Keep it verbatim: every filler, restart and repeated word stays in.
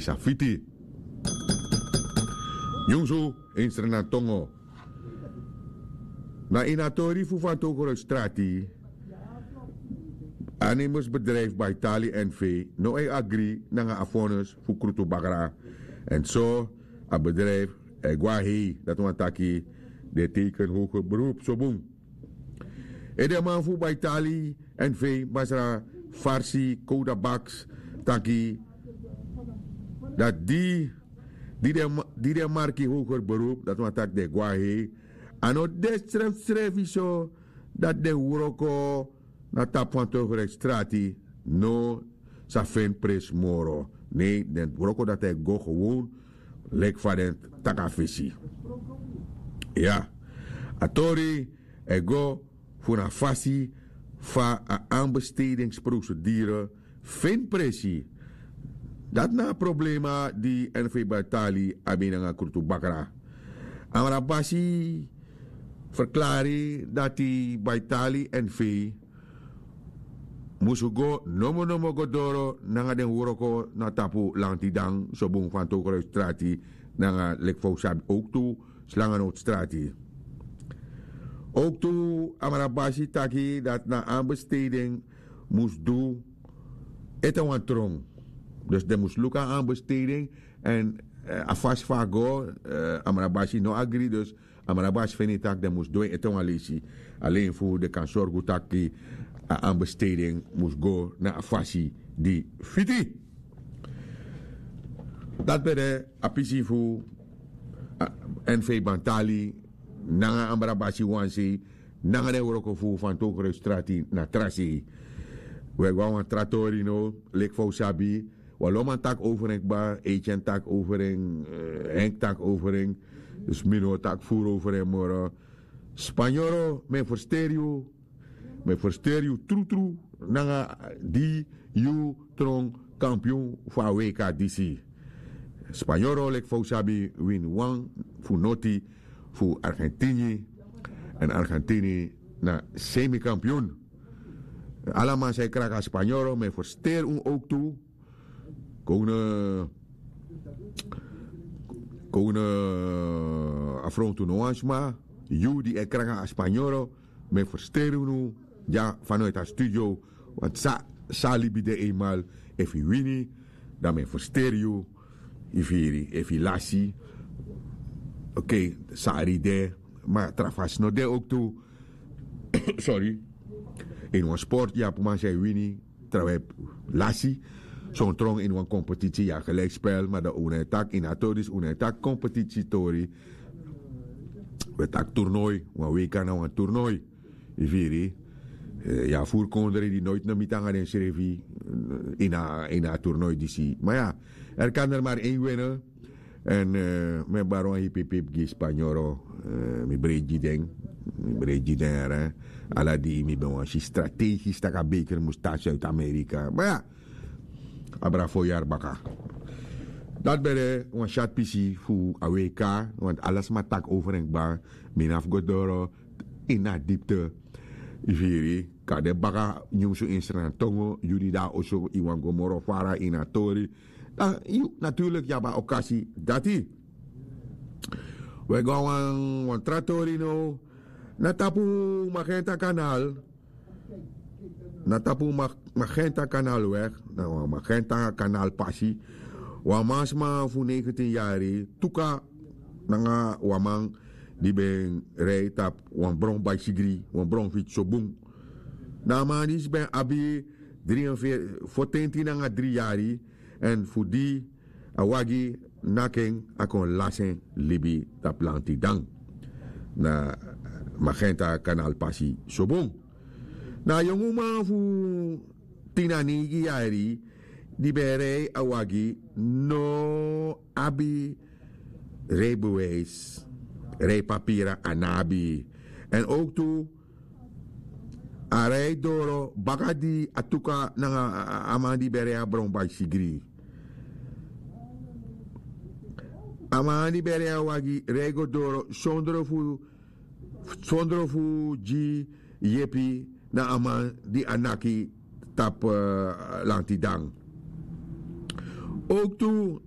Safiti. Nyunsu, instrenan tongo. Na ini a tori fu fantokro strati, animus bedrijfu baitali n v no e agri nanga a vonnis fu krutu bakra. Èn so a bedrijfu e go a hei dati wani taki den teken hoger beroep so bun. Edeman fu baitali n v masra farsi kouda baks taki dati di di den marki hoger beroep dati wani taki den e go a hei. A no de srefsrefi so dati den wroko na tapu fan togreksi strati no sa feni presi moro. Nei den wroko dati e go gewon leki fa den taki a fesi. Iya, a tori e go fu na fasi fa a anbestedingsprosedure feni presi. Dati na a problema di n v baitali abi nanga krutu bakra. Amra basi ferklari dati baitali n v musu go nomonomo go doro nanga den wroko na tapu lantidan sobun fan tokroystrati nanga leki fa un sabi owktu slangenowtstrati. Owktu amra basi taki dati na anbesteding mus du ete wan tron. Dus den mus luku a anbesteding èn a fasi fu a go. Amra basi no agri dus amra basi feni tak' den mus du en ete wan leisi alen fu den kan sorgu tak' a anbesteding mus go na a fasi di fiti. Dati ben de a pisi fu n v bantali nanga amra basi wan sei nanga den wroko fu fantow kruisstrati na tra sei. We go na wan tra tori no leki fa un sabi. Wan lo man taki over en kba, eitian taki over en, henk taki over en. Dus mi no o taki furu over en moro. Spanyoro mi e fersteri yu. Mi e fersteri yu trutru nanga di yu tron kampion fu a wk disi. Spanyoro leki fa un sabi wini wan fu noti fu argentini. Èn argentini na semikampion. Ala man san e kraka spanyoro mi e fersteri unu owktu. Kowne kowne afrontu no wan sma. Yu di e kraka a spanyoro mi e fersteri unu. Dya fanoiti a studio. Wantu san a libi de einmal. Efu yu wini dan mi e fersteri yu. Yu firi efu yu lasi. Okei, sari de. Ma tra fasi no de owktu. Sori. Ini wan sporti yu abi man san e wini trawan e lasi. Son tron ini wan kompetisi yu abi gelikspel ma dan un no e taki ini a tori disi un no e taki kompetisi tori. Un e taki turnoi. Wan weika na wan turnoi. Yu firi. Yu abi furu kondre di noiti no miti nanga densrefi ini a turnoi disi ma ya. Er kan der mari en wene. Èn mi e bari wan hipipipi gi spanyoro. Mi breiti gi den. Mi breiti gi den ere. Ala di mi ben wani si strategisi tak' a beker mus tan suid-amerika ma ya. Abra fo yari baka. Dati ben de wan syati pisi fu a wk. Wantu ala sma taki over en kba. Mi no abi fu go doro ini a dipte. Yu firi. Kan de baka nyunsu ini srantongo yu di de na oso yu wani go moro fara ini a tori. Dan yu naturliki yu abi a okasi dati. We go na wan tra tori now. Na tapu magenta kanal. Na tapu magenta kanal wek na wan magenta kanal pasi. Wan mansma fu negentin yari tuka nanga wan man di ben rei tapu wan bron baisigri wan bron fiti so bun. Na a man disi ben abi dri en fotenti nanga dri yari. Èn fu di a wagi naki en a kon lasi en libi tapu lanti dan. Na magenta kanal pasi so bun. Na a yongu man fu tin na neigi yari di ben e rei a wagi no abi reibewijsi. Reipapira a no abi. Èn owktu a rei doro baka di a tuka nanga a man di ben rei a bron baisigri. A man di ben rei a wagi rei go doro sondro fu sondro fu gi yepi na a man di a naki tapu lanti dan. Owktu